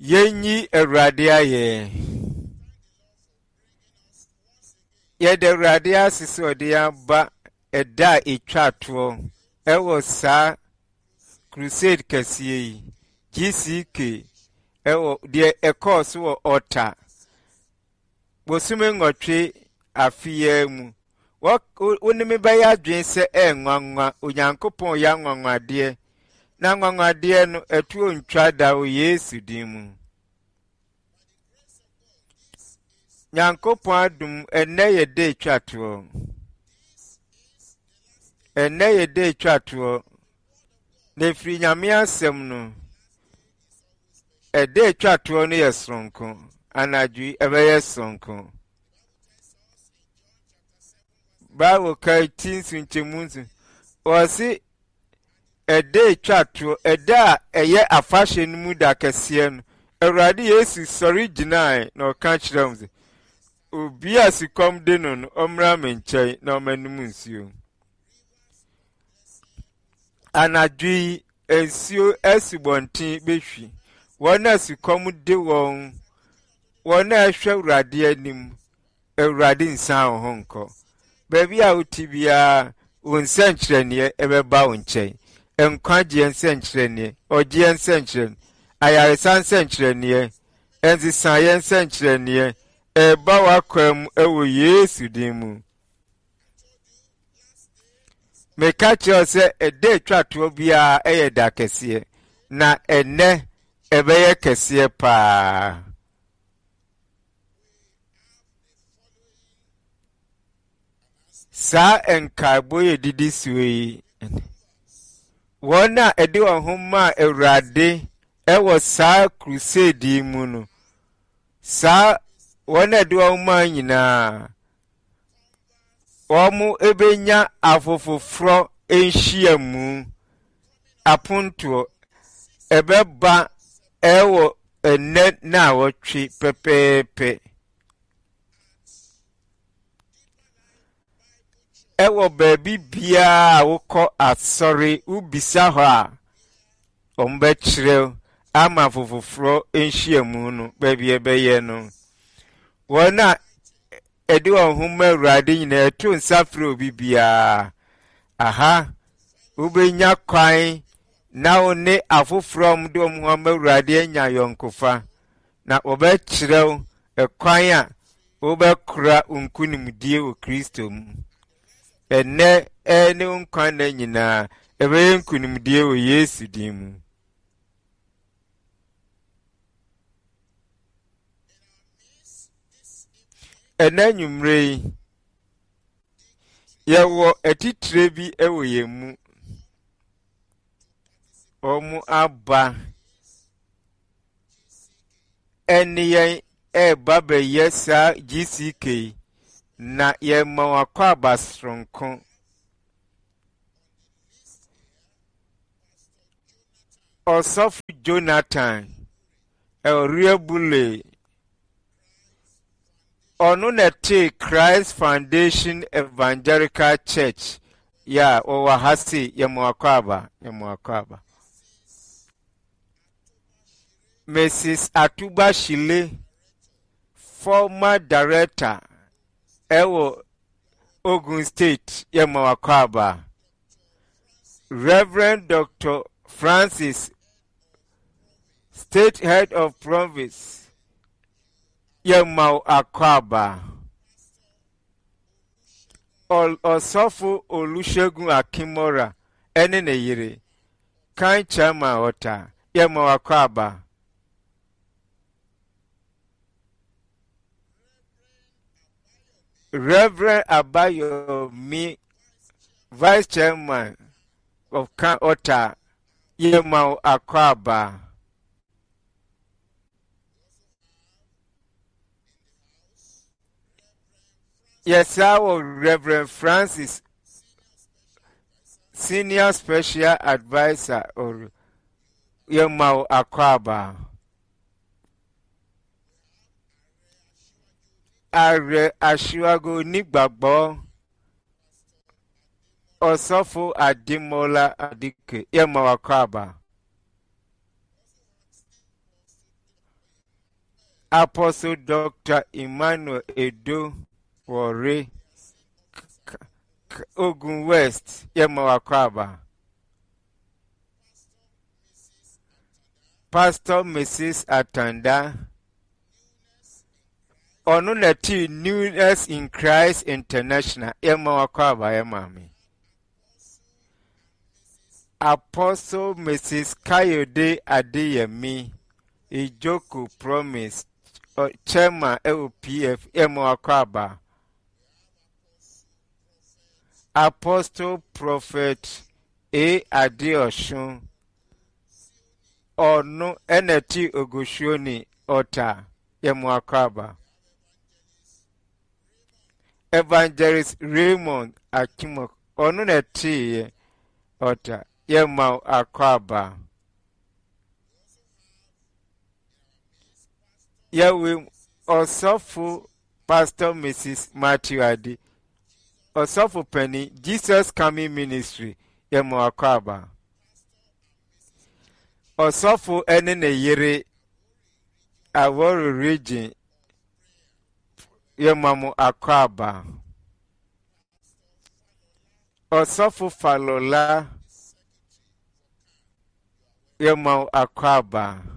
Yɛnyi Awurade ayɛ. Yɛda Awurade ase sɛ ɔde yɛn aba ɛda a ɛtwa toɔ ɛwɔ saa crusade kɛseɛ yi, GCK, ɛwɔ deɛ ɛkɔɔ so wɔ Ɔta bosome nwɔtwe afe yi ara mu. Wɔ, wo ne me bɛyɛ adwene sɛ ɛyɛ nwanwa, Onyankopɔn yɛ anwanwadeɛ, na anwanwadeɛ no ɛtoɔ ntwa da wɔ Yesu din mu. Nyankopɔn adom, ɛnnɛ yɛ da etwa toɔ. Ɛnnɛ yɛ da etwa toɔ. Na ɛfiri Nyame asɛm no, ɛda etwa toɔ no yɛ soronko. Anadwo yi ɛbɛyɛ soronko. Bible ka ti nso nkyɛmu nso. Wɔse ɛda etwa toɔ, ɛda a ɛyɛ afahyɛ no mu da kɛseɛ no, Awurade Yesu sɔre gyinae na ɔka kyerɛɛ wɔn sɛ, Obi a sukɔm de no no, ɔmmra me nkyɛn na ɔmmɛnom nsuo. Anadwo yi, nsuo asubɔnten bɛhwi. Wɔn a sukɔm de wɔn, wɔn a ɛhwɛ Awurade anim, Awurade nsan wo ho nkɔ. Baabi a wote biara, wo nsɛnkyerɛnneɛ ɛbɛba wo nkyɛn. Nkwagyeɛ nsɛnkyerɛnneɛ, ɔgyeɛ nsɛnkyerɛnneɛ, ayaresa nsɛnkyerɛnneɛ, nsesaeɛ nsɛnkyerɛnneɛ ɛreba w'akwan mu ɛwɔ Yesu din mu. Meka kyerɛ wo sɛ ɛda atwa toɔ biara ɛyɛ da kɛseɛ, na ɛnnɛ ɛbɛyɛ kɛseɛ paa. Saa nkaebɔ yi didi soɔ yi, wɔn a ɛde wɔn ho maa Awurade wɔ saa crusade yi mu no, saa wɔn a ɛde wɔn ho maa nyinaa, wɔbɛnya afofoforɔ nhyiamu apontoɔ. Ɛbɛba ɛwɔ ɛnnɛ naawɔtwe pɛpɛɛpɛ. Ɛwɔ baabi biara a wokɔ asɔre, wobisa hɔ a, wɔbɛkyerɛ ama afofoforɔ nhyiamu no baabi ɛbɛyɛ no. Wɔn a ɛde wɔn ho ma Awurade nyinaa ɛto nsa frɛ obi biara. Aha, wobɛnya kwan na wo ne afoforɔ a wɔde wɔn ho ama Awurade anya ayɔnkofa. Na wɔbɛkyerɛ wo ɛkwan a wobɛkora wo nkonimdie wɔ Kristo mu. Ɛnnɛ ne wo nkwa nna nyinaa, ɛbɛyɛ nkonimdie wɔ Yesu din mu. Ɛnnɛ anwummerɛ yi, yɛwɔ atitire bi wɔ yɛn mu. Wɔn aba ɛne yɛn ɛreba bɛyɛ saa GCK yi, na yɛma wɔn akwaaba soronko. Ɔsɔfo Jonathan Elriabule, ɔno na ɛtee Christ Foundation Evangelical Church yɛ a wɔwɔ ha se yɛma wɔn akwaaba, yɛma wɔn akwaaba. Mrs. Atuba Shile, former director ɛwɔ Ogun State yɛ ma wakɔ Reverend Dr. Francis, State Head of Province, yɛ ma wakɔ aba. Ɔsɔfo Olusegun Akinmora ɛne ne yere. Kan Chairman Ɔta, yɛ ma wakɔ aba. Reverend Abayomi, Vice Chairman of Kan Ɔta, yɛ ma akɔ aba. Yɛsaa wɔ Reverend Francis Senior Special Adviser or yɛma wo akwaaba. Ààrẹ Aṣíwájú onígbàgbọ́ Ɔsɔfo Ademola Adike yɛma wo akwaaba. Apostle Doctor Emmanuel Edo Wɔre Ogun West yɛma wakɔ aba. Pastor Mrs. Atanda ɔno na ti Newness in Christ International yɛma wakɔ aba yɛ maame. Apostle Mrs. Kayode Adeyemi Ijoko Promise Chairman ɛwɔ PF yɛma wakɔ aba. Apostle Prophet A. Adeosun ɔno ɛna ti Ogosuoni Ɔta yɛma wakɔ aba. Evangelist Raymond Akimok ɔno na ɛteeɛ ɔta yɛma akɔ aba. Yɛwe ɔsɔfo Pastor Mrs. Matthew Adi ɔsɔfo panin Jesus Coming Ministry yɛma akɔ aba. Ɔsɔfo ne ne yere Awori Region yɛma mo akwaaba. Ɔsɔfo Falola yɛma wo akwaaba.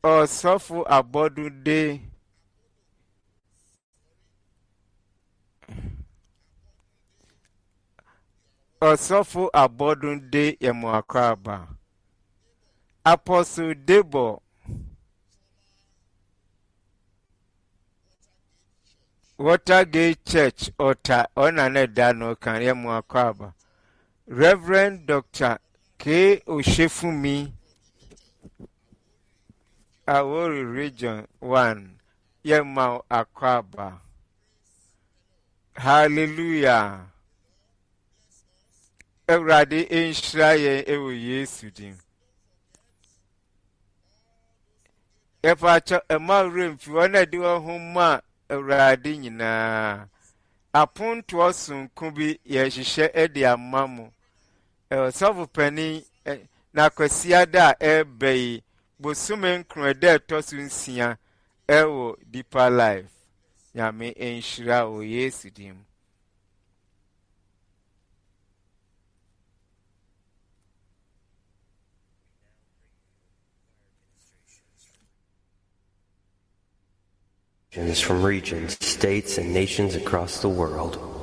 Ɔsɔfo Abɔdunde Ɔsɔfo Abɔdunde yɛma wo akwaaba. Apostle Debo Watergate Church Ɔta ɔna ne da no kan yɛ mo akwaaba. Reverend Dr. K. Oshefumi Awori Region 1 yɛ ma akwaaba. Hallelujah. Awurade nhyira yɛn wɔ Yesu din. Yɛfa akyɛ ɛma werɛ mfi wɔn a ɛde wɔn ho ma Awurade nyinaa. Apontoɔ sonko bi yɛhyehyɛ de ama mo. Ɔsɔfo panin na Kwasiada a ɛreba yi, bosome nkron ɛda ɛtɔ so nsia ɛwɔ Deeper Life. Nyame nhyira wɔ Yesu din mu. From regions, states, and nations across the world.